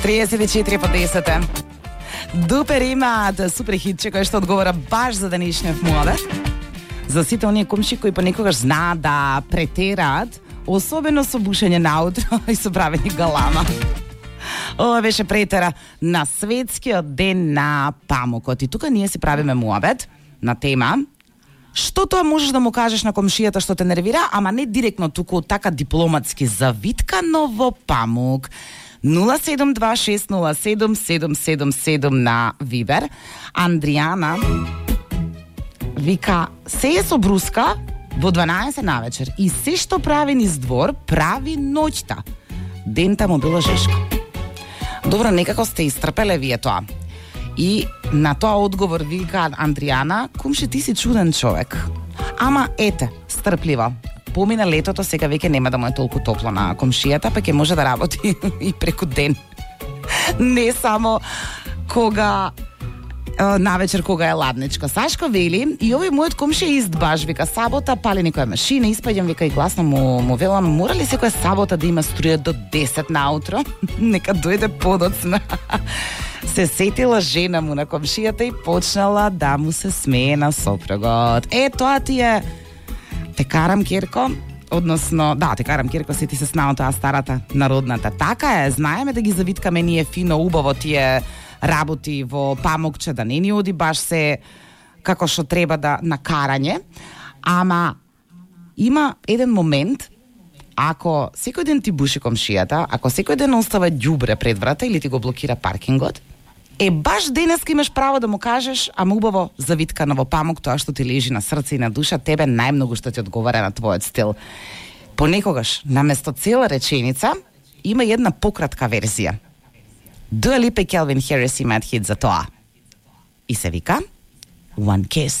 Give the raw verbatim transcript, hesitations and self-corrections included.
триесет и четири по десет. Дупер имаат супер хитче кој што одговора баш за денешниот муабет. За сите оние комши кои понекогаш знаат да претераат, особено со бушење наутро и со правење галама. Ова беше претера на светскиот ден на памукот. И тука ние си правиме муабет на тема што тоа можеш да му кажеш на комшијата што те нервира, ама не директно туку така дипломатски, завиткано во памук. нула седум два шест нула седум седум седум седум на Вибер. Андријана вика, се е со бруска во дванаесет навечер и се што прави низ двор, прави ноќта. Дента му било жешко. Добро, некако сте истрпеле вие тоа. И на тоа одговор вика Андријана, кумши, ти си чуден човек. Ама ете, стрпливо. Помина летото, сега веќе нема да му е толку топло на комшијата, па ќе може да работи и преку ден. Не само кога навечер кога е ладничко. Сашко вели, и овој мојот комши е ист баш, вика, сабота пали некоја машина, испаѓам, вика, и гласно му, му велам, мора ли секоја сабота да има струја до десет наутро? Нека дојде подоцна. Се сетила жена му на комшијата и почнала да му се смее на сопругот. Е, тоа ти е те карам Керко, односно, да, те карам Керко, се ти се снao тоа старата народната. Така е, знаеме да ги завиткаме ние фино, убаво тие работи во памукче, да не ни оди баш се како што треба да на карање, ама има еден момент, ако секој ден ти буши комшијата, ако секој ден остава ѓубре пред врата или ти го блокира паркингот, е баш денеска имаш право да му кажеш, ама убаво завиткано во памук, тоа што ти лежи на срце и на душа, тебе најмногу што ти одговара на твојот стил. Понекогаш, наместо цела реченица, има една пократка верзија. Дуа Липа и Келвин Харис имаат хит за тоа. И се вика One Kiss.